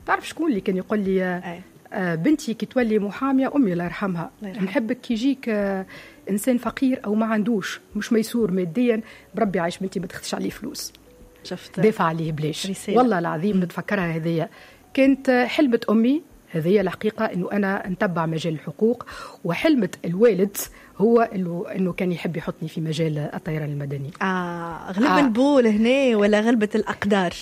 تعرف شكون اللي كان يقول لي بنتي كي تولي محاميه، امي الله يرحمها، نحبك كي يجيك انسان فقير او ما عندوش، مش ميسور ماديا، بربي عايش بنتي ما تاخذش عليه فلوس، شفت، دافع عليه بلاش. والله العظيم نتفكرها، هذيا كانت حلمة امي، هذه الحقيقة أنه أنا نتبع مجال الحقوق، وحلمة الوالد هو أنه كان يحب يحطني في مجال الطيران المدني. غلب البول هنا ولا غلبة الأقدار؟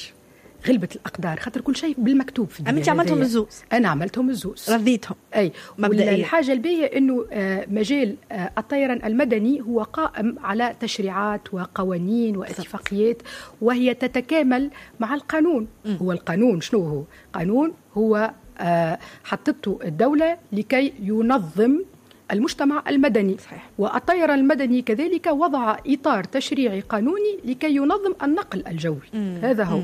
غلبة الأقدار، خاطر كل شيء بالمكتوب في الدنيا. أنت عملتهم الزوز؟ أنا عملتهم الزوز، رضيتهم. أي مبدئيا. الحاجة الباهية أنه مجال الطيران المدني هو قائم على تشريعات وقوانين واتفاقيات، وهي تتكامل مع القانون. هو القانون شنو هو؟ قانون هو حطته الدولة لكي ينظم المجتمع المدني. والطيران المدني كذلك وضع إطار تشريعي قانوني لكي ينظم النقل الجوي. هذا هو.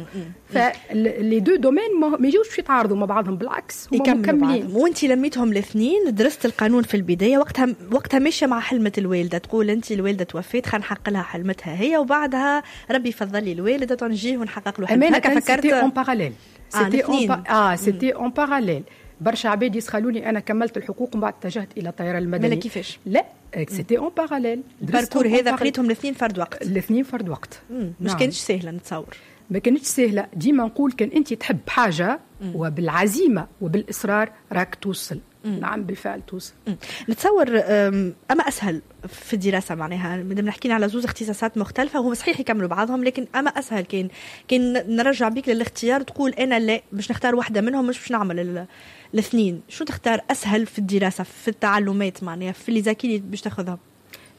ف les deux domaines ما يجوش يتعارضوا مع بعضهم، بالعكس هم مكملين. وانت لميتهم الاثنين، درست القانون في البداية، وقتها ماشية مع حلمة الوالدة، تقول انت الوالدة توفيت خلينا نحقق لها حلمتها هي، وبعدها ربي يفضل لي الوالدة نجيه ونحقق له حلمتها. هكا فكرت؟ en parallèle، c'était en parallèle. برشا عباد يسخلوني انا كملت الحقوق ومن بعد اتجهت الى الطيران المدني. كيفاش؟ لا، c'était en parallèle. ال parcours هذا قريتهم الاثنين فرد وقت؟ الاثنين فرد وقت. مش كانتش سهلة نتصور. ما كانتش سهله. ديما نقول كان انت تحب حاجة وبالعزيمه وبالاصرار راك توصل. نعم بالفعل توصل. نتصور اما اسهل في الدراسه، معناها مادام نحكينا على زوز اختصاصات مختلفة وهم صحيح يكملوا بعضهم، لكن اما اسهل كان نرجع بيك للاختيار، تقول انا لا باش نختار واحدة منهم، مش باش نعمل الاثنين، شو تختار اسهل في الدراسه، في التعلمات، معناها في les acquis اللي باش تاخذهم؟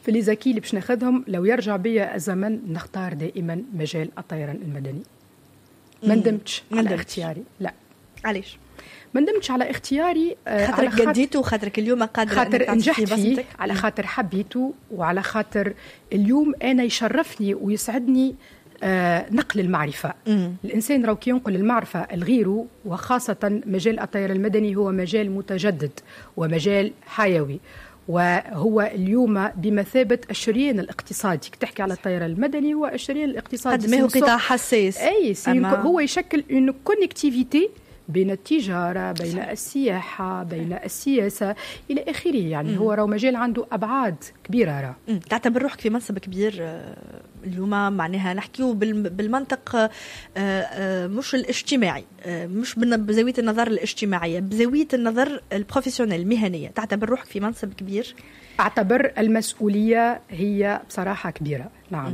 في les acquis اللي باش ناخذهم، لو يرجع بيا الزمن نختار دائما مجال الطيران المدني. ما ندمتش على اختياري. لا. علاش؟ ما ندمتش على اختياري. خاطرك قديته، خاطرك اليوم قادرة، خاطر نجحت فيه، على خاطر حبيته، وعلى خاطر اليوم أنا يشرفني ويسعدني نقل المعرفة. الإنسان راهو كي ينقل المعرفة لغيره، وخاصة مجال الطيران المدني هو مجال متجدد ومجال حيوي، وهو اليوم بمثابة الشريان الاقتصادي. تحكي على الطيران المدني هو الشريان الاقتصادي، قد ما هو قطاع حساس. أي هو يشكل une connectivité بين التجارة، بين السياحة، بين السياسة إلى آخره. يعني هو راه مجال عنده أبعاد كبيرة. راه تعتبر روحك في منصب كبير اليوم، معناها نحكيو بالمنطق مش الاجتماعي، مش بزاوية النظر الاجتماعية، بزاوية النظر ال professionnel المهنية، تعتبر روحك في منصب كبير؟ أعتبر المسؤولية هي بصراحة كبيرة. نعم.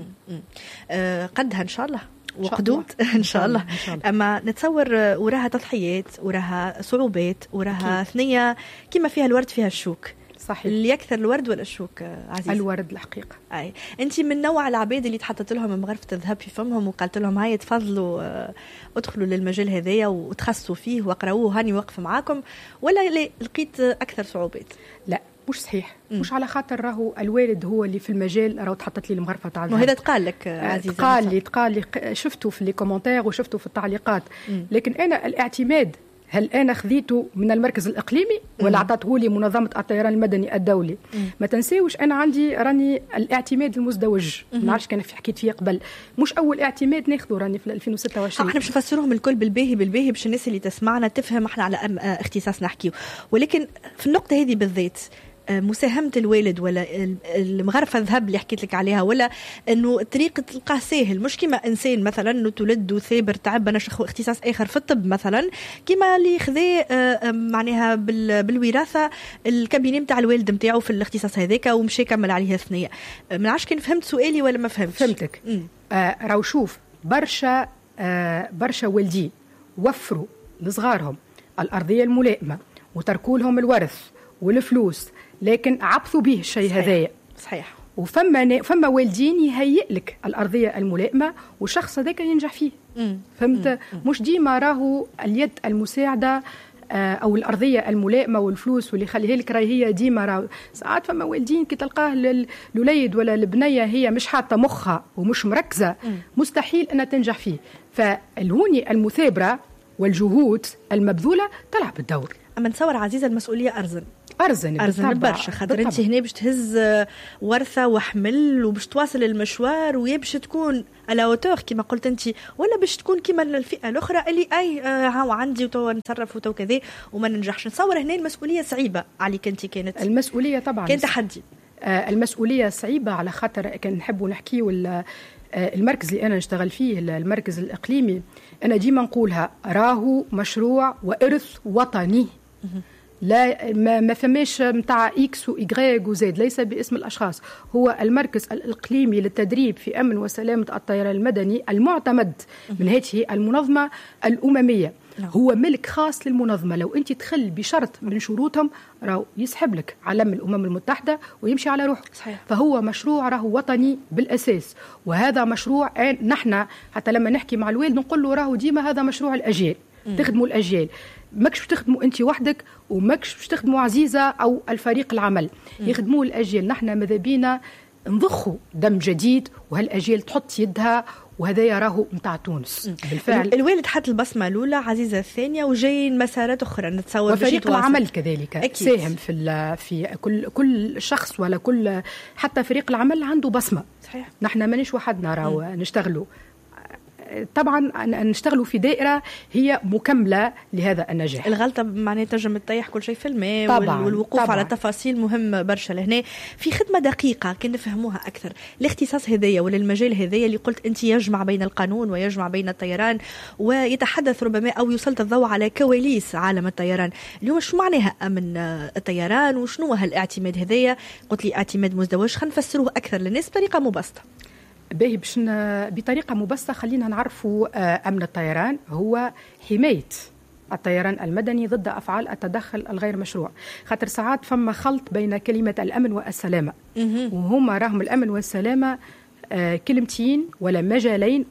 قدها إن شاء الله وقدود ان شاء الله. اما نتصور وراها تضحيات، وراها صعوبات، وراها ثنيه كما فيها الورد فيها الشوك. صحيح. اللي يكثر الورد ولا الشوك عزيزة؟ الورد الحقيقة. اي انت من نوع العباد اللي تحطت لهم مغرفه الذهب في فمهم وقالت لهم هاي تفضلوا ادخلوا للمجال هذايا وتخصصوا فيه واقراوه، هاني واقفة معاكم، ولا لقيت اكثر صعوبات؟ لا مش صحيح. مش على خاطر راهو الوالد هو اللي في المجال راهو تحطت لي المغرفه تاع الذهب. وهذا تقال لك عزيزه؟ تقال لي، شفته في les commentaires وشفته في التعليقات. لكن انا الاعتماد هل انا خذيته من المركز الاقليمي ولا اعطته لي منظمة الطيران المدني الدولي؟ ما تنساوش انا عندي راني الاعتماد المزدوج، ما نعرفش كان حكيت فيه قبل، مش اول اعتماد ناخذه، راني في 2026. احنا باش نفسروهم الكل بالباهي بالباهي باش الناس اللي تسمعنا تفهم احنا على اختصاص نحكيو، ولكن في النقطة هذه بالذات مساهمة الوالد ولا المغرفة الذهب اللي حكيت لك عليها، ولا انه الطريق تلقاه ساهل، مش كما انسان مثلا انه تولد وثابر تعب انا اختصاص اخر في الطب مثلا، كما اللي خذا معناها بالوراثة ال cabinet نتاع الوالد نتاعو في الاختصاص هذاك ومشى كمل عليه ثنية. ما نعرفش كان فهمت سؤالي ولا ما فهمتش. فهمتك. راهو شوف برشا برشا والدين وفروا لصغارهم الأرضية الملائمة وتركوا لهم الورث والفلوس، لكن عبثوا به الشيء هذايا. وفما والدين يهيئ لك الارضية الملائمة والشخص هذاك ينجح فيه. فهمت؟ مش ديما راهو اليد المساعدة او الارضية الملائمة والفلوس واللي يخليها لك راهي هي ديما. راهو ساعات فما والدين كي تلقاه الوليد ولا البنية هي مش حاطه مخها ومش مركزه، مستحيل انها تنجح فيه. فالهوني المثابرة والجهود المبذوله تلعب الدور. اما نتصور عزيزه المسؤولية ارزن. ارزن. ارزن برشا، خاطر انت هنا باش تهز ورثه وحمل وباش تواصل المشوار، ويا باش تكون à la hauteur كما قلت انت، ولا باش تكون كما الفئة الاخرى اللي اي هاو عندي وتو نتصرف وتو كذا وما ننجحش. نتصور هنا المسؤولية صعيبة عليك انت. كانت المسؤولية طبعا كان تحدي. المسؤولية صعيبة على خاطر كان نحبوا نحكيو المركز اللي انا نشتغل فيه، المركز الاقليمي، انا ديما نقولها راهو مشروع وارث وطني، لا ما فماش نتاع X و Y و Z، ليس باسم الاشخاص. هو المركز الاقليمي للتدريب في امن وسلامه الطيران المدني المعتمد من هذه المنظمة الامميه. هو ملك خاص للمنظمه. لو انت تخل بشرط من شروطهم راهو يسحب لك علم الامم المتحدة ويمشي على روحه. فهو مشروع راهو وطني بالاساس، وهذا مشروع نحن حتى لما نحكي مع الوالد نقول له راهو ديما هذا مشروع الاجيال، تخدموا الاجيال، ماكش باش تخدموا انت وحدك، وماكش باش تخدموا عزيزه او الفريق العمل، يخدموا الاجيال. نحن ماذا بينا نضخوا دم جديد وهالاجيال تحط يدها، وهذا راهو نتاع تونس بالفعل. الوالد حط البصمة الاولى، عزيزه الثانية، وجايين مسارات اخرى نتصور. وفريق العمل كذلك أكيد ساهم في كل شخص ولا كل، حتى فريق العمل عنده بصمة. نحن مانيش وحدنا راهو نشتغلوا، طبعا نشتغلوا في دائرة هي مكملة لهذا النجاح. الغلطة معناها تنجم تطيح كل شيء في الماء. طبعاً والوقوف طبعاً على التفاصيل مهم برشا. لهنا في خدمة دقيقة كي نفهموها اكثر، الاختصاص هذايا ولا المجال هذايا اللي قلت انت يجمع بين القانون ويجمع بين الطيران ويتحدث ربما او يسلط الضوء على كواليس عالم الطيران. اليوم شو معناها امن الطيران وشنو هالاعتماد هذايا؟ قلت لي اعتماد مزدوج، خلينا نفسروه اكثر للناس بطريقة مبسطة. باهي، باش بطريقة مبسطة خلينا نعرفوا أمن الطيران هو حماية الطيران المدني ضد أفعال التدخل الغير مشروع. خاطر ساعات فما خلط بين كلمة الأمن والسلامة، وهما راهم الأمن والسلامة كلمتين ولا مجالين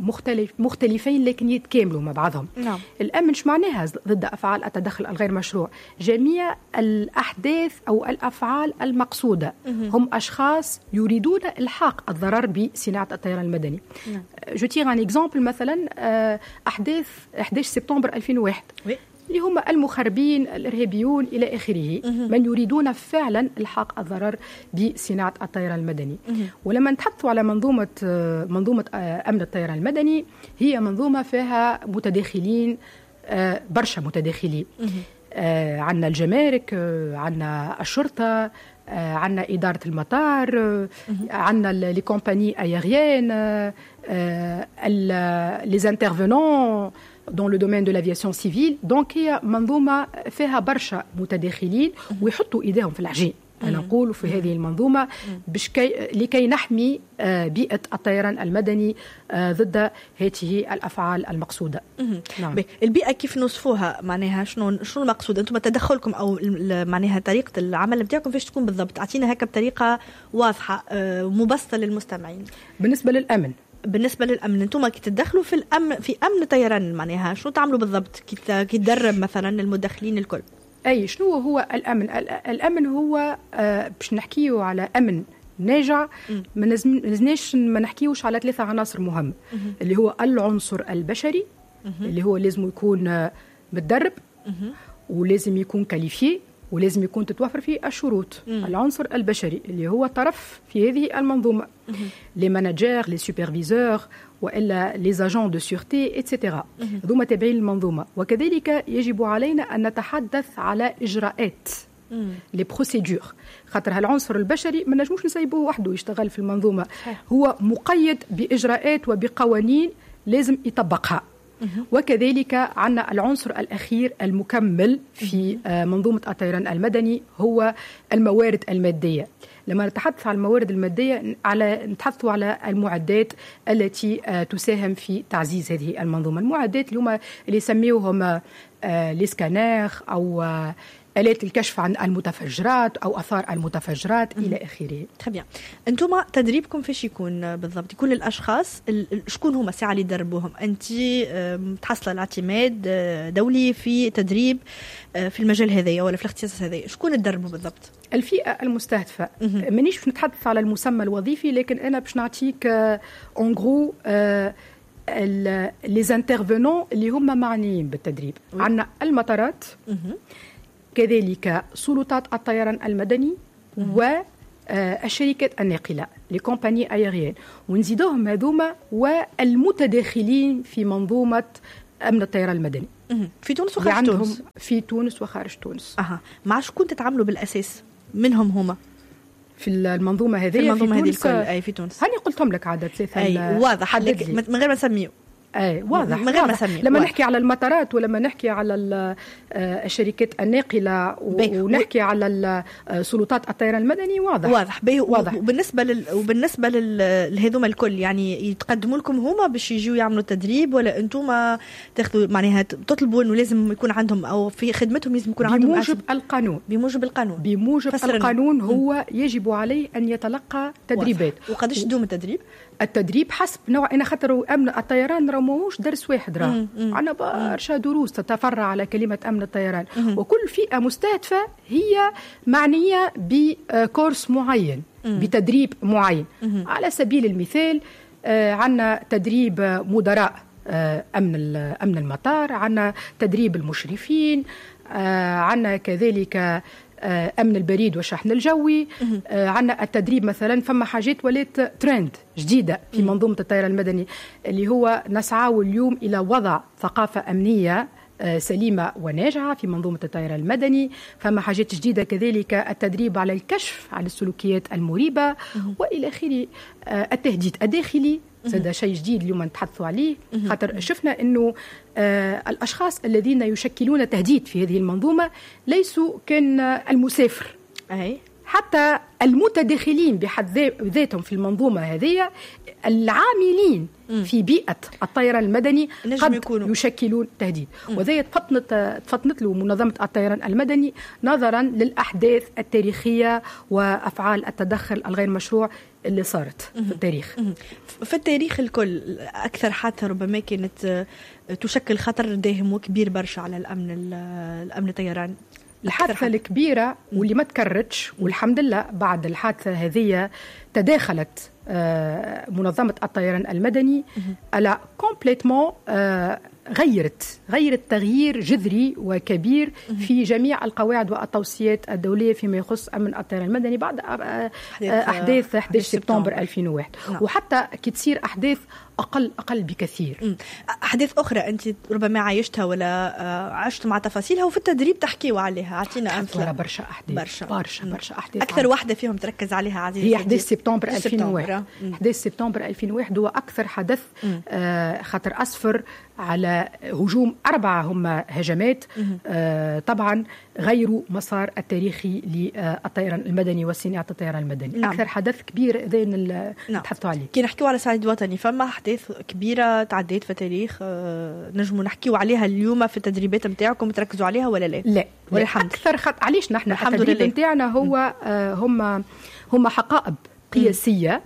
مختلفين لكن يتكاملوا مع بعضهم. الأمن شو معناها ضد أفعال التدخل الغير مشروع؟ جميع الأحداث أو الأفعال المقصودة، هم أشخاص يريدون إلحاق الضرر بصناعة الطيران المدني. Je tire un exemple، مثلا أحداث 11 سبتمبر 2001، اللي هم المخربين الإرهابيون إلى آخره، من يريدون فعلا إلحاق الضرر بصناعة الطيران المدني. ولما نتحدث على منظومة أمن الطيران المدني، هي منظومة فيها متداخلين، برشا متداخلين. عندنا الجمارك، عندنا الشرطة، عندنا إدارة المطار، عندنا les compagnies aériennes، les intervenants dans le domaine de l'aviation civile. donc هي منظومة فيها برشا متداخلين ويحطوا إيديهم في العجين، أنا نقول في هذه المنظومة باش لكي نحمي بيئة الطيران المدني ضد هذه الأفعال المقصودة. نعم. البيئة كيف نوصفوها؟ معناها شنو المقصود؟ أنتم تدخلكم أو معناها طريقة العمل بتاعكم فاش تكون بالضبط؟ أعطينا هكا بطريقة واضحة مبسطة للمستمعين. بالنسبة للأمن، بالنسبة للامن انتم كي تدخلوا في الامن، في امن الطيران، معناها شنو تعملوا بالضبط كي تدرب مثلا المدخلين الكل؟ اي، شنو هو الامن؟ الامن هو باش نحكيو على امن ناجع ما لازمناش ما نحكيوش على ثلاثة عناصر مهمه، اللي هو العنصر البشري، اللي هو لازم يكون متدرب ولازم يكون qualifié ولازم يكون تتوفر فيه الشروط. العنصر البشري اللي هو طرف في هذه المنظومه، les managers، les superviseurs والا les agents de sûreté et cetera، هذوما تابعين المنظومه. وكذلك يجب علينا ان نتحدث على اجراءات، les procédures، خاطر هالعنصر البشري ما نجموش نسيبوه وحده يشتغل في المنظومه، هو مقيد باجراءات وبقوانين لازم يطبقها. وكذلك عندنا العنصر الأخير المكمل في منظومة الطيران المدني هو الموارد المادية. لما نتحدث عن الموارد المادية نتحدث على المعدات التي تساهم في تعزيز هذه المنظومة، المعدات اللي هما اللي يسميوهم les scanners أو آلات الكشف عن المتفجرات أو آثار المتفجرات إلى آخره. très bien. أنتم تدريبكم فاش يكون بالضبط؟ يكون للأشخاص شكون هما الساعة اللي تدربوهم؟ أنت متحصلة الاعتماد دولي في تدريب في المجال هذايا ولا في الاختصاص هذايا، شكون تدربوا بالضبط؟ الفئة المستهدفة، مانيش باش نتحدث على المسمى الوظيفي، لكن أنا باش نعطيك en gros les intervenants اللي هما معنيين بالتدريب. عندنا المطارات. كذلك سلطات الطيران المدني والشركات الناقله، les compagnies aériennes، ونزيدوهم هذوما والمتداخلين في منظومة امن الطيران المدني. في تونس وخارج تونس. في تونس وخارج تونس. مع شكون تتعاملوا بالاساس منهم هما؟ في المنظومة هذه؟ في المنظومة هذه الكل، اي، في تونس. هاني قلتهم لك عدد ثلاثه. اي، واضح، من غير ما نسميو. اي، واضح. من غير ما نسمي. لما نحكي على المطارات ولما نحكي على الشركات الناقله ونحكي على سلطات الطيران المدني، واضح. واضح. واضح. وبالنسبه لهذوما الكل، يعني يتقدموا لكم هما باش يجوا يعملوا تدريب ولا انتم تاخذوا، معناها تطلبوا انه لازم يكون عندهم او في خدمتهم لازم يكون عندهم؟ بموجب القانون. بموجب القانون. بموجب القانون، هو يجب عليه ان يتلقى تدريبات. وقداش تدوم التدريب؟ التدريب حسب نوع، انا خاطر امن الطيران راه ماهوش درس واحد، راه عندنا برشا دروس تتفرع على كلمة امن الطيران، وكل فئة مستهدفه هي معنية ب course معين، بتدريب معين. على سبيل المثال عندنا تدريب مدراء امن المطار، عندنا تدريب المشرفين، عندنا كذلك امن البريد والشحن الجوي، عندنا التدريب مثلا، فما حاجات ولات ترند جديدة في منظومة الطيران المدني، اللي هو نسعى اليوم الى وضع ثقافة امنية سليمة وناجعة في منظومة الطيران المدني. فما حاجات جديدة كذلك، التدريب على الكشف على السلوكيات المريبة وإلى آخره. التهديد الداخلي هذا شيء جديد اليوم نتحدثوا عليه، خاطر شفنا انه الاشخاص الذين يشكلون تهديد في هذه المنظومة ليسوا كان المسافر، حتى المتداخلين بحد ذاتهم في المنظومة هذه، العاملين في بيئة الطيران المدني قد يكونوا يشكلون تهديد. وذا تفطنت له منظمة الطيران المدني نظرا للأحداث التاريخية وأفعال التدخل الغير مشروع اللي صارت في التاريخ. في التاريخ الكل، أكثر حادثة ربما كانت تشكل خطر داهم وكبير برشا على الأمن الطيران؟ الحادثة الكبيرة واللي ما تكررتش والحمد لله، بعد الحادثة هذه تداخلت منظمة الطيران المدني elle a complètement غيرت تغيير جذري وكبير في جميع القواعد والتوصيات الدولية فيما يخص أمن الطيران المدني بعد أحداث 11 سبتمبر 2001. وحتى كي تصير أحداث أقل أقل بكثير. أحداث أخرى أنت ربما عايشتها ولا عشت مع تفاصيلها وفي التدريب تحكيوا عليها، أعطينا أمثلة. برشا أحداث، برشا برشا برشا أحداث. أكثر واحدة فيهم تركز عليها عزيزي؟ هي 11 سبتمبر 2001. 11 سبتمبر 2001 هو أكثر حدث خاطر أسفر على هجوم أربعة هم هجمات طبعا غيروا مسار التاريخي للطيران المدني وصناعة الطيران المدني. أكثر حدث كبير ذين نتحدثوا عليه. كي نحكيو على صعيد وطني، فما أحداث كبيرة تعديت في التاريخ نجموا نحكيو عليها اليوم في التدريبات نتاعكم تركزوا عليها ولا لا؟ لا، ولا الحمد. أكثر علاش نحن التدريب نتاعنا هو هم حقائب قياسية.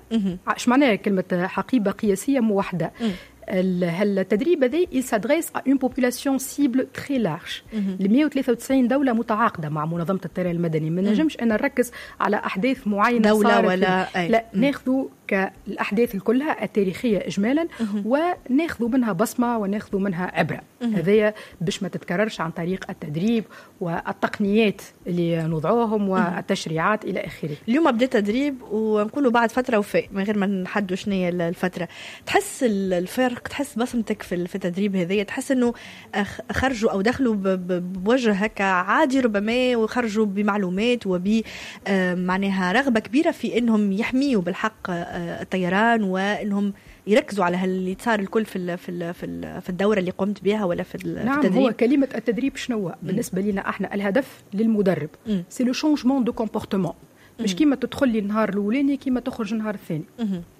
ايش معناها كلمة حقيبة قياسية موحدة؟ التدريب هذا il s'adresse à une population cible très large، ل 193 دولة متعاقدة مع منظمة الطيران المدني. ما نجمش أنا نركز على أحداث معينة. دولة ولا أي. لا، ناخذ كالأحداث كلها التاريخية إجمالا وناخذ منها بصمة وناخذ منها عبرة، هذايا باش ما تتكررش عن طريق التدريب والتقنيات اللي نوضعوهم والتشريعات إلى آخره. اليوم بدا تدريب ونقولوا بعد فترة وفاء من غير ما نحدوا شنو هي الفترة، تحس الفرق، تحس بصمتك في التدريب هذايا، تحس انه خرجوا او دخلوا بوجه هكا عادي ربما وخرجوا بمعلومات وب معناها رغبة كبيرة في انهم يحميوا بالحق الطيران وانهم يركزوا على اللي صار الكل في الدورة اللي قمت بها ولا في التدريب؟ هو كلمة التدريب شنو بالنسبة لنا احنا؟ الهدف للمدرب c'est le changement de comportement، مش كيما تدخل لي النهار الاولاني كيما تخرج النهار الثاني.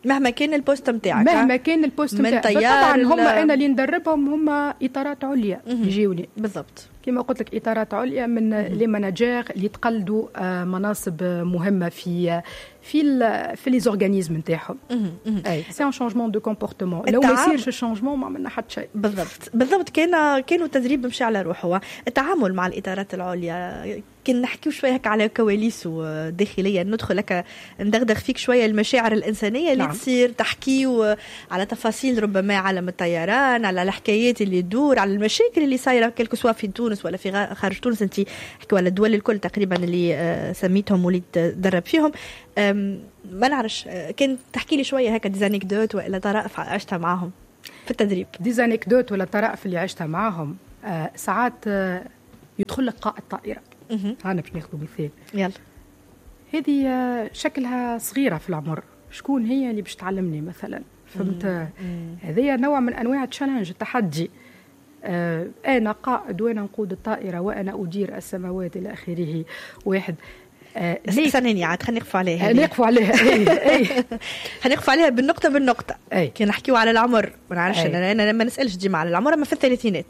مهما كان ال poste نتاعك. مهما كان ال poste نتاعك. طبعا هم انا اللي ندربهم هم اطارات عليا يجيوني. كما قلت لك، اطارات عليا من les managers اللي تقلدوا مناصب مهمة في les organismes نتاعهم. اي، c'est un changement de comportement. لو ما يصيرش changement ما عملنا حتى شيء. بالضبط. كانوا التدريب مشي على روحه. التعامل مع الاطارات العليا، كان نحكيو شوية هكا على كواليسه داخليا، ندخل هكا ندغدغ فيك شوية المشاعر الانسانية اللي تصير، تحكيو على تفاصيل ربما عالم الطيران، على الحكايات اللي تدور، على المشاكل اللي صايرة quelque soit في تونس. تونس ولا في خارج تونس؟ انت حكوا على الدول الكل تقريبا اللي سميتهم واللي تدرب فيهم. ما نعرفش كان تحكي لي شوية هكا des anecdotes ولا طرائف عشتها معاهم في التدريب. des anecdotes ولا طرائف اللي عشتها معاهم، ساعات يدخل لك قائد طائره. انا باش ناخذ مثال. يلا. هذه شكلها صغيرة في العمر، شكون هي اللي باش تعلمني مثلا؟ فهمت؟ هذه نوع من انواع ال challenge، التحدي. انا قائد وانا نقود الطائرة وانا ادير السماوات الى اخره. واحد استناني عاد خلينا نقفوا عليها. نقفوا عليها. اي خلينا نقفوا عليها بالنقطة بالنقطة. كي نحكيو على العمر، ما نعرفش انا ما نسالش ديما على العمر، اما في الثلاثينات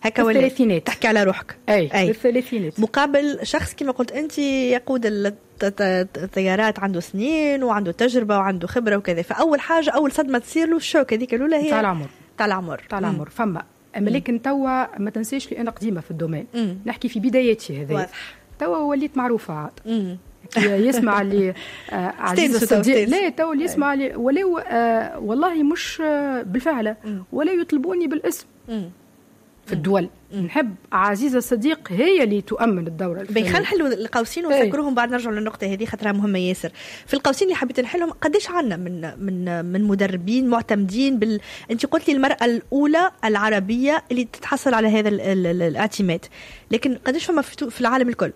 هكا ولا الثلاثينات تحكي على روحك. اي في الثلاثينات مقابل شخص كما قلت انت يقود الطيارات، عنده سنين وعنده تجربه وعنده خبره وكذا. فاول حاجة، اول صدمة تصير له ال choc هذيك الاولى هي تاع العمر. تاع العمر. تاع العمر فما. اما لكن توا ما تنساش لي انا قديمة في ال domaine، نحكي في بداياتي هذه. توا وليت معروفة عاد. يسمع اللي عزيز الصديق، لا توا اللي يسمع اللي ولو والله مش بالفعل ولا يطلبوني بالاسم في الدول. نحب عزيزة الصديق هي اللي تؤمن الدورة. خلينا نحلوا القوسين ونسكروهم بعد نرجعوا للنقطة هذه خاطرها مهمة ياسر. في القوسين اللي حبيت نحلهم، قداش عندنا من مدربين معتمدين انت قلت لي المرأة الأولى العربية اللي تتحصل على هذا الاعتماد، لكن قداش فما في العالم الكل؟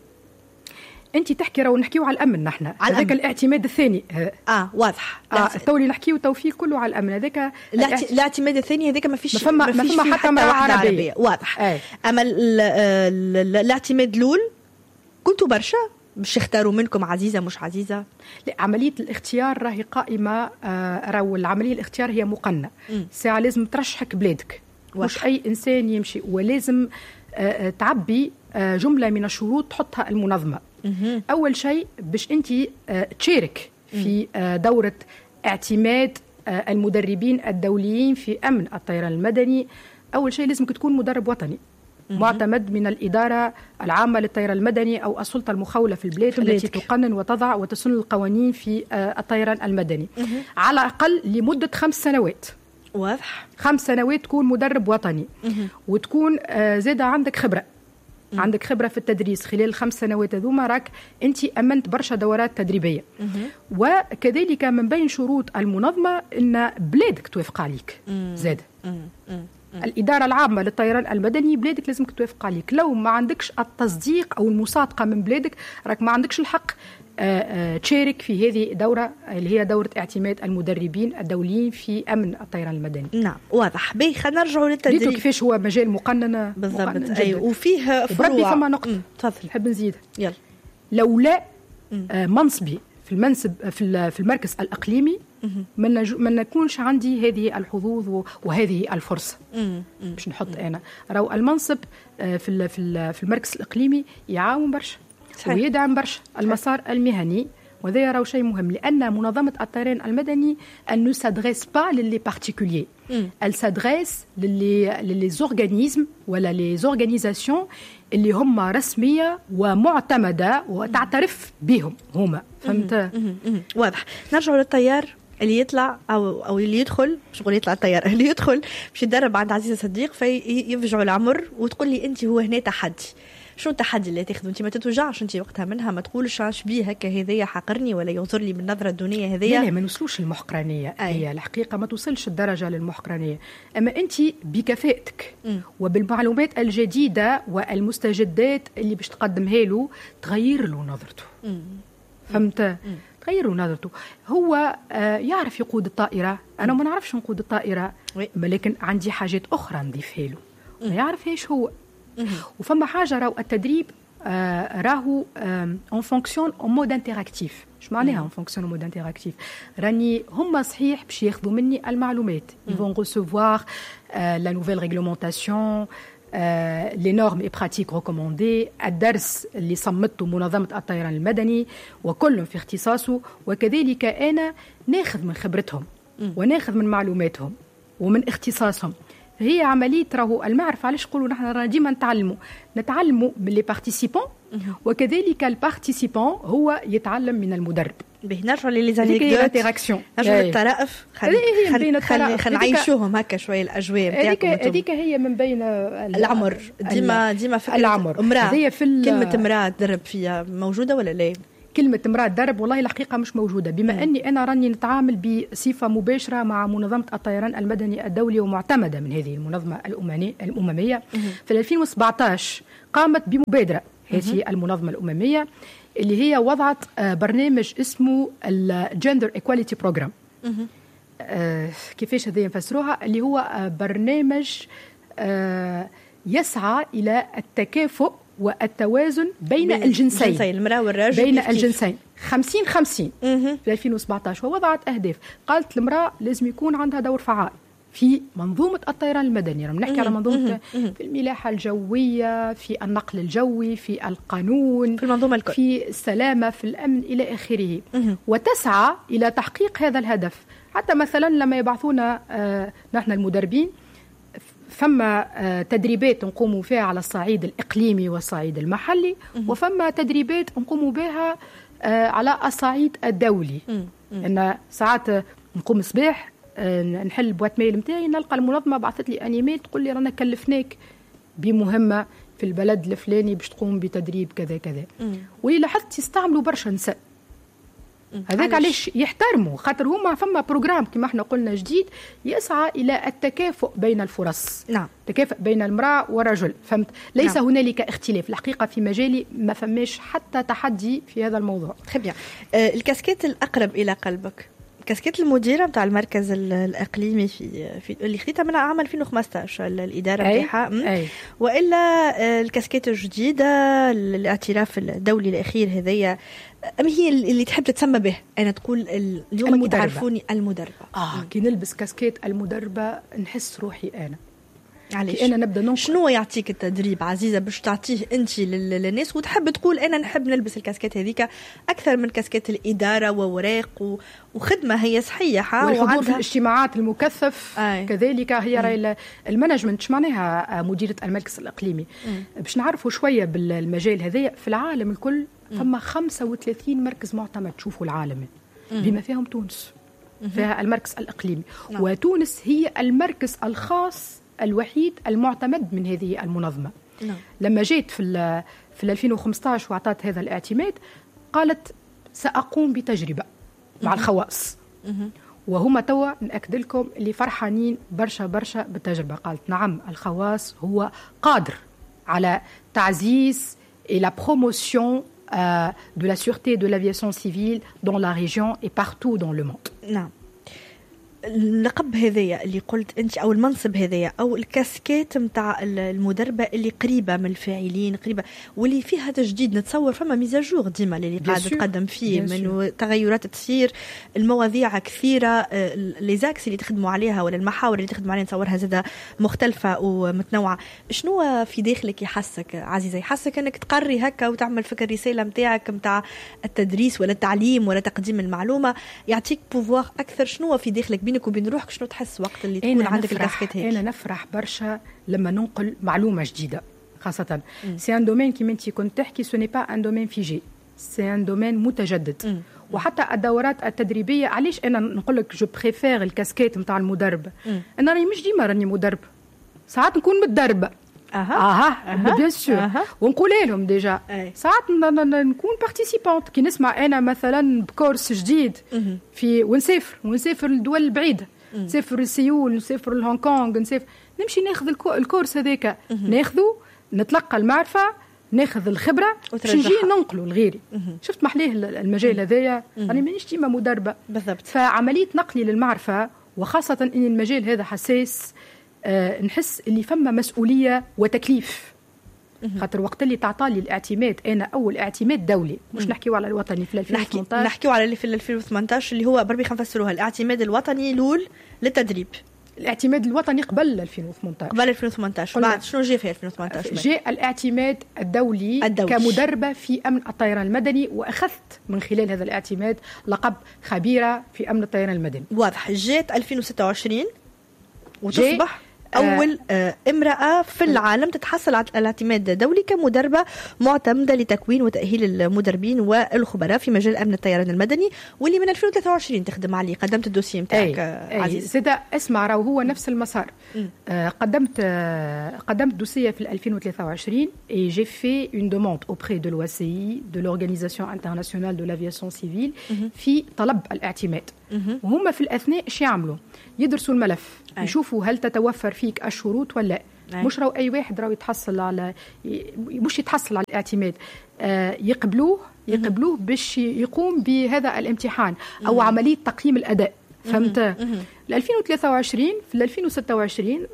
انت تحكي راهو نحكيو على الامن نحن، هذاك الاعتماد الثاني. واضح. تو اللي نحكيو تو فيه كله على الامن، هذاك الاعتماد الثاني هذاك ما فيش، ما فما حتى امراة عربية. واضح. اما الاعتماد الاول كنتوا برشا باش يختاروا منكم عزيزه مش عزيزه؟ لا، عملية الاختيار راهي قائمة. راهو العملية الاختيار هي مقننه. ساعة لازم ترشحك بلادك، مش اي انسان يمشي، ولازم تعبي جملة من الشروط تحطها المنظمة. أول شيء باش أنت تشارك في دورة اعتماد المدربين الدوليين في أمن الطيران المدني، أول شيء لازمك تكون مدرب وطني معتمد من الإدارة العامة للطيران المدني أو السلطة المخولة في البلاد التي تقنن وتضع وتسن القوانين في الطيران المدني، على الأقل لمدة 5 سنوات. واضح. 5 سنوات تكون مدرب وطني، وتكون زادة عندك خبرة. عندك خبرة في التدريس خلال 5 سنوات هذوما، راك أنت أمنت برشا دورات تدريبية. وكذلك من بين شروط المنظمة أن بلادك توافق عليك. زاد الإدارة العامة للطيران المدني بلادك لازمك توافق عليك. لو ما عندكش التصديق أو المصادقة من بلادك راك ما عندكش الحق تشارك في هذه الدورة اللي هي دورة اعتماد المدربين الدوليين في أمن الطيران المدني. نعم واضح. باهي خلينا نرجعوا للتدريب. كيفاش هو مجال مقنن بالضبط. أيوة. وفيه فروع. فما نقطة تفضل نحب نزيد. يلا. لولا منصبي في المنصب في المركز الإقليمي ما نكونش عندي هذه الحظوظ وهذه الفرصة. باش نحط أنا راهو المنصب في في المركز الإقليمي يعاون برشا ويدعم برشا المسار المهني، وهذا راهو شيء مهم، لأن منظمة الطيران المدني elle ne s'adresse pas les particuliers، elle s'adresse les organismes ولا les organisations اللي هم رسمية ومعتمدة وتعترف بهم هما. فهمت؟ واضح. نرجع للطيار اللي يطلع او اللي يدخل، مش نقول يطلع، الطيار اللي يدخل باش يتدرب عند عزيزة صديق فيفجعوا العمر وتقول لي انت هو هنا تحدي. شو التحدي اللي تاخذه انت؟ ما تتوجعش انت وقتها منها؟ ما تقولش اش بيه هكا هذايا حقرني ولا ينظر لي بالنظرة الدونيه هذيا؟ لا، ما نوصلوش للمحقرانيه. هي الحقيقة ما توصلش الدرجة للمحقرانيه، اما انت بكفاءتك وبالمعلومات الجديدة والمستجدات اللي باش تقدمها له تغير له نظرته. فهمت؟ تغير له نظرته. هو يعرف يقود الطائرة، انا ما نعرفش نقود الطائرة، ولكن عندي حاجات اخرى نضيفها له ما يعرفهاش هو. وفما حاجة راهو التدريب راهو on fonctionne en mode interactif. اش معناها on fonctionne en mode interactif؟ راني هما صحيح باش ياخذوا مني المعلومات، ils vont recevoir la nouvelle réglementation، les normes et pratiques recommandées، الدرس اللي صمته منظمة الطيران المدني وكل في اختصاصه، وكذلك انا ناخذ من خبرتهم وناخذ من معلوماتهم ومن اختصاصهم. هي عملية راهو المعرفة. علاش نقولوا نحن رانا ديما نتعلموا من les participants، وكذلك ال participant هو يتعلم من المدرب. به نرجعوا les anecdotes، نرجعوا للطرائف، خلينا نعيشوهم هكا شوية الاجواء نتاعكم. هذيك هي من بين العمر، ديما فكرة العمر. امراة، كلمة امراة تدرب فيها موجودة ولا لا؟ كلمة امرأة تدرب والله الحقيقة مش موجودة، بما أني أنا راني نتعامل بصفة مباشرة مع منظمة الطيران المدني الدولي ومعتمدة من هذه المنظمة الأممية. في 2017 قامت بمبادرة هذه المنظمة الأممية اللي هي وضعت برنامج اسمه ال Gender Equality Program. كيفاش هذا نفسروها؟ اللي هو برنامج يسعى إلى التكافؤ والتوازن بين الجنسين، المرأة والرجل، بين الجنسين 50-50 في 2017. ووضعت أهداف، قالت المرأة لازم يكون عندها دور فعال في منظومة الطيران المدني. نحكي على منظومة في الملاحة الجوية، في النقل الجوي، في القانون، في المنظومة الكل، في السلامة، في الأمن، إلى آخره. وتسعى إلى تحقيق هذا الهدف. حتى مثلا لما يبعثونا نحن المدربين، فما تدريبات نقوم فيها على الصعيد الإقليمي والصعيد المحلي، وفما تدريبات نقوم بها على الصعيد الدولي. إن ساعات نقوم صباح نحل boîte mail نتاعي، نلقى المنظمة بعثت لي un email تقول لي رانا كلفناك بمهمة في البلد الفلاني باش تقوم بتدريب كذا كذا. ولاحظت يستعملوا برشا نساء، هذاك علاش يحترموا، خاطر هما فما programme كما احنا قلنا جديد يسعى الى التكافؤ بين الفرص. نعم. التكافؤ بين المرأة والرجل، فهمت؟ ليس نعم. هنالك اختلاف الحقيقة في مجالي، ما فماش حتى تحدي في هذا الموضوع. Très bien. الكاسكيت الأقرب إلى قلبك، كاسكيت المديرة نتاع المركز الإقليمي في اللي خديتها من عام 2015 الإدارة نتاعها، وإلا الكاسكيت الجديدة الاعتراف الدولي الأخير هذايا، أم هي اللي تحب تتسمى به؟ أنا تقول اليوم تعرفوني المدربة. كي نلبس كاسكيت المدربة نحس روحي أنا. علاش؟ أنا نبدأ ننقل. شنو يعطيك التدريب عزيزة باش تعطيه أنت للناس وتحب تقول أنا نحب نلبس الكاسكيت هذيك أكثر من كاسكيت الإدارة ووراق وخدمة هي صحيحة، والحضور في الاجتماعات المكثف. كذلك هي راي ال management، معناها مديرة المركز الإقليمي. باش نعرفوا شوية بالمجال هذايا في العالم الكل، فما 35 مركز معتمد تشوفوا العالم بما فيهم تونس، فيها المركز الإقليمي. نعم. وتونس هي المركز الخاص الوحيد المعتمد من هذه المنظمة. نعم. لما جيت في 2015 وأعطت هذا الاعتماد، قالت سأقوم بتجربة مع الخواص. وهما توا نأكد لكم اللي فرحانين برشا برشا بالتجربة. قالت نعم الخواص هو قادر على تعزيز la promotion de la sûreté de l'aviation civile dans la région et partout dans le monde. نعم. اللقب هذايا اللي قلت انت، او المنصب هذايا، او الكاسكيت نتاع المدربه اللي قريبه من الفاعلين، قريبه واللي فيها تجديد، نتصور فما mise à jour ديما اللي قاعدة تقدم فيه، من تغيرات تصير، المواضيع كثيرة، les axes اللي تخدموا عليها ولا المحاور اللي تخدموا عليها نتصورها زاده مختلفة ومتنوعة. شنو في داخلك يحسك عزيزه، يحسك انك تقري هكا وتعمل فكر الرسالة نتاعك نتاع التدريس ولا التعليم ولا تقديم المعلومة، يعطيك pouvoir اكثر؟ شنو في داخلك بينك وبين روحك، شنو تحس وقت اللي تكون عندك الكاسكيت هيك؟ انا نفرح برشا لما ننقل معلومة جديدة، خاصة c'est un domaine كيما انت كنت تحكي، ce n'est pas un domaine figé، c'est un domaine متجدد. وحتى الدورات التدريبية، علاش انا نقول لك je préfère ال casquette نتاع المدرب؟ انا راني مش ديما راني مدرب، ساعات نكون متدربه. اها bien sûr، ونقول لهم déjà ساعات نكون participante كي نسمع انا مثلا ب course جديد في ونسافر للدول البعيدة، نسافر لسيول، نسافر لهونغ كونغ، نسافر، نمشي ناخذ ال course هذاك، ناخذه، نتلقى المعرفة، ناخذ الخبرة باش نجي ننقله لغيري. شفت محليه المجال هذايا؟ انا مانيش ديما مدربه بالضبط. فعملية نقلي للمعرفة، وخاصة ان المجال هذا حساس، نحس اللي فما مسؤولية وتكليف. خاطر وقت اللي تعطالي الاعتماد، انا اول اعتماد دولي، مش نحكيو على الوطني في 2018، نحكيو على اللي في 2018 اللي هو بربي خلينا نفسروها، الاعتماد الوطني الاول للتدريب. الاعتماد الوطني قبل 2018. قبل 2018 بعد شنو جاء في 2018؟ جاء الاعتماد الدولي كمدربة في أمن الطيران المدني، وأخذت من خلال هذا الاعتماد لقب خبيرة في أمن الطيران المدني. واضح. جات 2026 وتصبح اول امراة في العالم تتحصل على الاعتماد الدولي كمدربه معتمدة لتكوين وتاهيل المدربين والخبراء في مجال امن الطيران المدني، واللي من 2023 تخدم عليه. قدمت ال dossier نتاعك عزيز. زاد اسمع، راهو هو نفس المسار. قدمت dossier في 2023 et j'ai fait une demande auprès de l'OACI، de l'Organisation internationale de l'aviation civile، في طلب الاعتماد. وهم في الاثناء ايش يعملوا؟ يدرسوا الملف، يشوفوا هل تتوفر فيك الشروط ولا لا. مش راهو اي واحد راهو يتحصل على، مش يتحصل على الاعتماد، يقبلوه باش يقوم بهذا الامتحان او عملية تقييم الاداء، فهمت؟ 2023، في 2026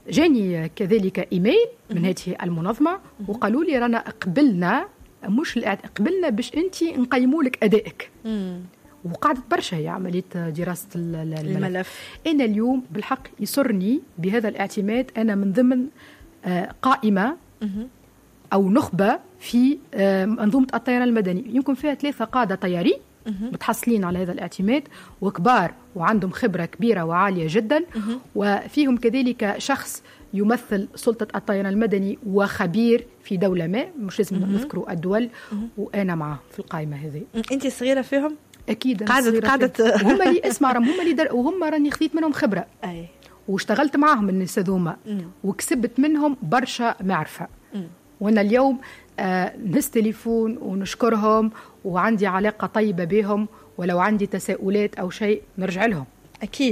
جاني كذلك ايميل من هذه المنظمة وقالوا لي رانا قبلنا، مش قبلنا باش انت نقيموا لك ادائك. وقعدت برشا هي عملية دراسة الملف. الملف. انا اليوم بالحق يسرني بهذا الاعتماد، انا من ضمن قائمة او نخبة في منظومة الطيران المدني، يمكن فيها ثلاثة قاده طيارين متحصلين على هذا الاعتماد وكبار وعندهم خبره كبيرة وعاليه جدا، وفيهم كذلك شخص يمثل سلطة الطيران المدني وخبير في دولة ما، مش لازم نذكروا الدول، وانا معه في القائمة هذه. انت صغيرة فيهم؟ اكيد. قعدت وهم اللي اسمع، هم اللي وهم راني خذيت منهم خبره واشتغلت معاهم الناس هذوما وكسبت منهم برشا معرفه. وانا اليوم نهز تليفون ونشكرهم وعندي علاقة طيبة بهم، ولو عندي تساؤلات او شيء نرجع لهم.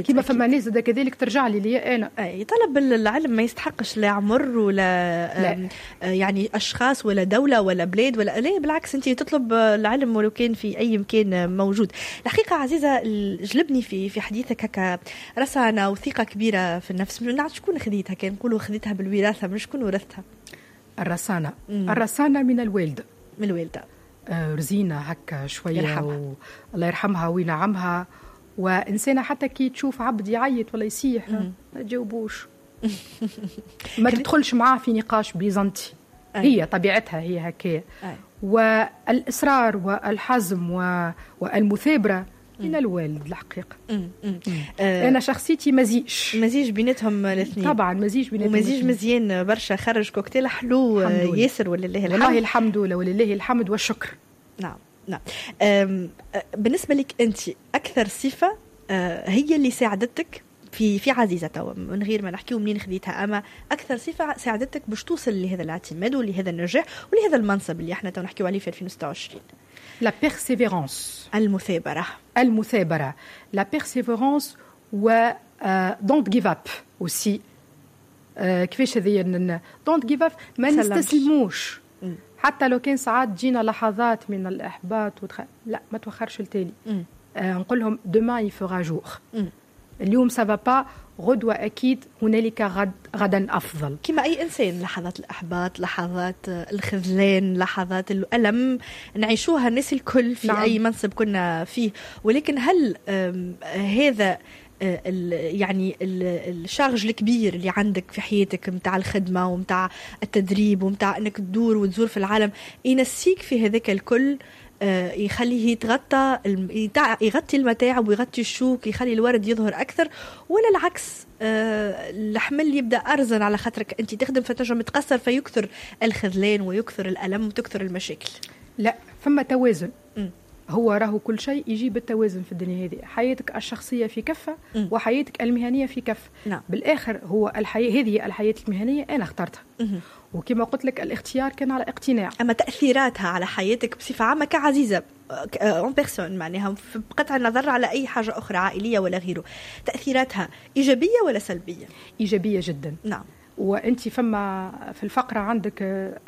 كما فما ناس كذلك ترجع لي لي انا. اي، طلب العلم ما يستحقش لا عمر ولا لا. يعني اشخاص ولا دولة ولا بلاد ولا لا، بالعكس انت تطلب العلم ولو كان في اي مكان موجود. الحقيقة عزيزه، جلبني في حديثك هكا رسانه وثقه كبيرة في النفس، من عند شكون خذيتها؟ كان نقولوا خذيتها بالوراثه، من شكون ورثتها؟ الرسانه؟ الرسانه من الوالده. من الوالده. رزينه هكا شويه الله يرحمها وينعمها، وانسانه حتى كي تشوف عبد يعيط ولا يصيح ما تجاوبوش، ما تدخلش معاه في نقاش بيزنطي. هي طبيعتها هي هكايا. والاصرار والحزم والمثابرة من الوالد الحقيقه. انا شخصيتي مزيج. مزيج بيناتهم الاثنين. طبعا مزيج بيناتهم. ومزيج مزيان برشا، خرج كوكتيل حلو ياسر ولله الحمد. والله الحمد لله ولله الحمد والشكر. نعم. بالنسبة لك أنت، أكثر صفة هي اللي ساعدتك في عزيزة توا، من غير ما نحكيو منين خذيتها، أما أكثر صفة ساعدتك باش توصل لهذا الاعتماد ولهذا النجاح ولهذا المنصب اللي احنا تو نحكيو عليه في 2026؟ la persévérance. المثابرة. المثابرة، la persévérance و don't give up aussi. كيفاش هذه don't give up؟ ما نستسلموش حتى لو كان ساعات تجينا لحظات من الاحباط لا، ما توخرش التالي. نقول لهم demain il fera jour. اليوم ça va pas، غدوة أكيد هنالك غد، غدا أفضل. كما أي إنسان، لحظات الإحباط، لحظات الخذلان، لحظات الألم نعيشوها الناس الكل في أي منصب كنا فيه. ولكن هل هذا يعني ال charge الكبير اللي عندك في حياتك متاع الخدمة ومتاع التدريب ومتاع انك تدور وتزور في العالم ينسيك في هذاك الكل، يخليه يتغطى، يغطي المتاعب ويغطي الشوك، يخلي الورد يظهر اكثر، ولا العكس، الحمل يبدا ارزن على خاطرك انت تخدم فتنجم تقصر فيكثر الخذلان ويكثر الالم وتكثر المشاكل؟ لا، فما توازن. هو راهو كل شيء يجي بالتوازن في الدنيا هذه، حياتك الشخصية في كفة وحياتك المهنية في كفة. بالآخر هو الحياة هذه، الحياة المهنية أنا اخترتها. وكما قلت لك الاختيار كان على اقتناع. أما تأثيراتها على حياتك بصفة عامة كعزيزة en personne، معناها بقطع النظر على أي حاجة أخرى عائلية ولا غيره، تأثيراتها إيجابية ولا سلبية؟ إيجابية جدا. وانت فما في الفقرة عندك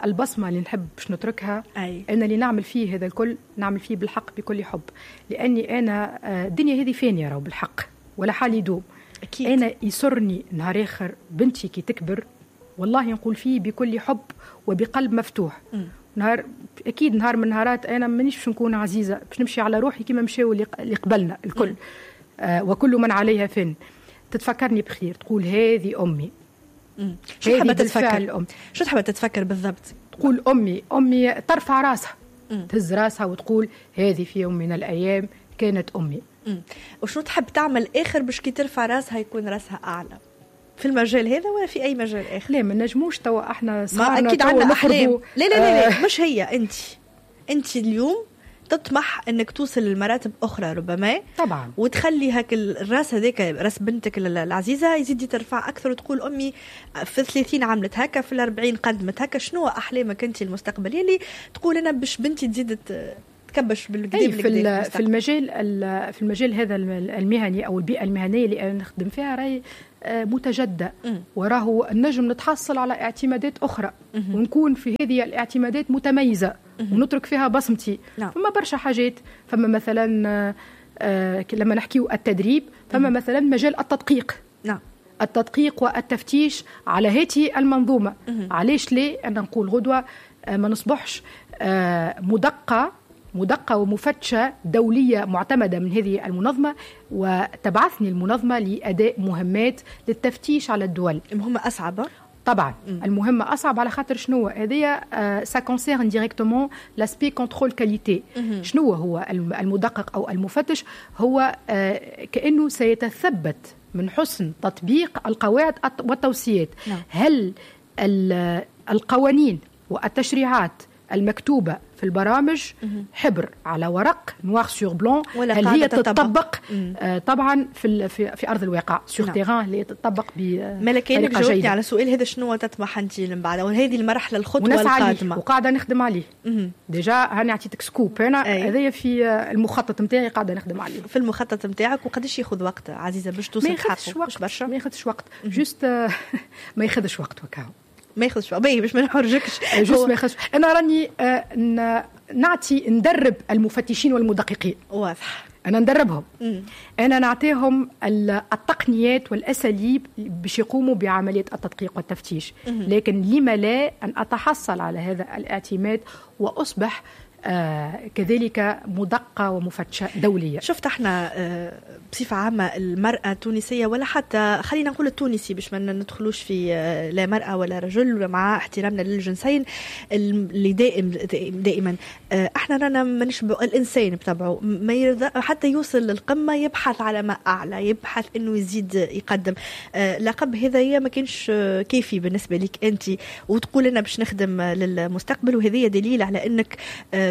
البصمة اللي نحب باش نتركها. انا اللي نعمل فيه هذا الكل نعمل فيه بالحق بكل حب، لاني انا الدنيا هذه فانيه راهو بالحق ولا حال يدوم. انا يسرني نهار اخر بنتي كي تكبر، والله نقول فيه بكل حب وبقلب مفتوح. نهار اكيد نهار من نهارات انا مانيش باش نكون عزيزه، باش نمشي على روحي كيما مشاو اللي قبلنا الكل. وكل من عليها فن. تتفكرني بخير، تقول هذه امي. شو تحب تتفكر الأم؟ شو تحب تتفكر بالضبط؟ تقول أمي، أمي ترفع راسها، تهز راسها وتقول هذه في يوم من الأيام كانت أمي. وشو تحب تعمل آخر باش كي ترفع راسها يكون راسها أعلى؟ في المجال هذا ولا في اي مجال اخر؟ لا، ما نجموش توا احنا ما اكيد عندنا احلام. لا لا لا، لا مش هي، انت اليوم تطمح انك توصل لمراتب اخرى ربما. طبعا. وتخلي هاك الراس هذاك، راس بنتك العزيزه، يزيد يترفع اكثر، وتقول امي في 30 عملت هكا، في 40 قدمت هكا. شنو احلامك انت المستقبلية اللي تقول انا باش بنتي تزيد تكبش بالقدا؟ في المجال هذا المهني او البيئة المهنية اللي انا نخدم فيها راهي متجددة، وراهو النجم نتحصل على اعتمادات اخرى ونكون في هذه الاعتمادات متميزة ونترك فيها بصمتي. فما برشا حاجات، فما مثلا لما نحكيو التدريب، فما مثلا مجال التدقيق. التدقيق والتفتيش على هذه المنظومه. علاش ليه انا نقول غدوه ما نصبحش مدقة ومفتشة دولية معتمدة من هذه المنظمة، وتبعثني المنظمة لأداء مهمات للتفتيش على الدول؟ المهمة أصعب. طبعا. المهمة أصعب على خاطر شنو هذه؟ ça concerne directement l'aspect contrôle qualité. شنو هو المدقق أو المفتش؟ هو كأنه سيتثبت من حسن تطبيق القواعد والتوصيات. هل القوانين والتشريعات المكتوبة في البرامج حبر على ورق، noir sur blanc، هل هي تطبق طبعا في ارض الواقع، sur terrain، اللي تطبق؟ بطريقة كانك جاوبتني على سؤال هذا. شنو تطمح انت من بعد وهذه المرحله، الخطوة القادمه؟ وقاعدة نخدم عليه déjà. هاني عطيتك scoop انا، هذايا في المخطط نتاعي، قاعدة نخدم عليه. في المخطط نتاعك. وقداش ياخذ وقت عزيزه باش توصل؟ ما ياخذش وقت برشا، ما ياخذش وقت، juste ما ياخذش وقت وكاو. ما ياخذش، باهي، باش ما نحرجكش. juste ما ياخذش. انا راني نعطي، ندرب المفتشين والمدققين. انا ندربهم. انا نعطيهم التقنيات والاساليب باش يقوموا بعملية التدقيق والتفتيش. لكن لما لا ان اتحصل على هذا الاعتماد واصبح كذلك مدققة ومفتشة دولية؟ شفت احنا بصفة عامة المرأة التونسية، ولا حتى خلينا نقول التونسي باش ما ندخلوش في لا مرأة ولا رجل، مع احترامنا للجنسين، اللي دائم دائما احنا رانا ما نشبع. الانسان بطبعه ما يرضى حتى يوصل للقمة، يبحث على ما اعلى، يبحث انه يزيد يقدم. لقب هذايا ما كانش كافي بالنسبة لك انت، وتقول انا باش نخدم للمستقبل، وهذه دليل على انك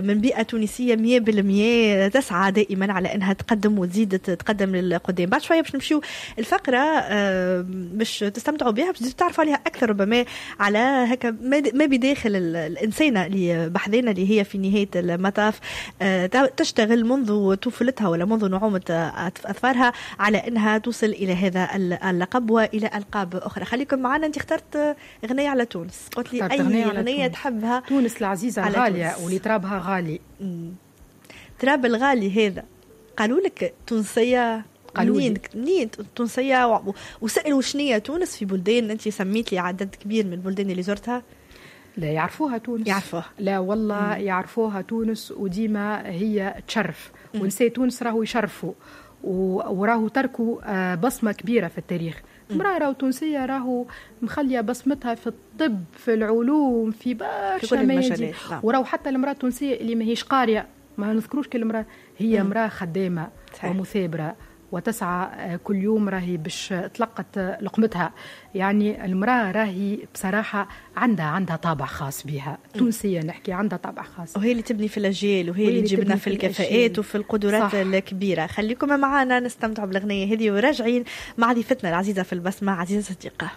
من بيئة تونسية 100% تسعى دائما على أنها تقدم وتزيد تقدم للقدام. بعد شوية باش نمشيو الفقرة باش تستمتعوا بها، باش تعرفوا عليها أكثر ربما، على هكا ما بداخل الإنسانة اللي بحذانا، اللي هي في نهاية المطاف تشتغل منذ طفولتها ولا منذ نعومة أظفارها على أنها توصل إلى هذا اللقب وإلى ألقاب أخرى. خليكم معنا. أنت اخترت أغنية على تونس، قلت لي أي أغنية تحبها. تونس العزيزة الغالية واللي ترابها غالي. تراب الغالي هذا، قالوا لك تونسية؟ قالوا منين منين تونسية؟ وسألوا شنية تونس في بلدان؟ أنت سميت لي عدد كبير من البلدان اللي زرتها. لا، يعرفوها تونس. يعرفوها. لا والله. يعرفوها تونس، وديما هي تشرف. ونساء تونس راهو يشرفوا وراهو تركوا بصمة كبيرة في التاريخ. امرأة راهو تونسية راهو مخلية بصمتها في الطب، في العلوم، في برشا ميادين. وراهو حتى المرأة التونسية اللي ماهيش قارية، ما نذكروش كل امرأة، هي امرأة خدامة ومثابرة وتسعى كل يوم راهي باش تلقت لقمتها. يعني المرأة راهي بصراحة عندها طابع خاص بها، تونسية نحكي، عندها طابع خاص. وهي اللي تبني في الأجيال، وهي اللي تجيبنا في الكفاءات وفي القدرات الكبيرة. خليكم معنا نستمتع بالأغنية هذه وراجعين مع ضيفتنا العزيزة في البسمة، عزيزة صديقة.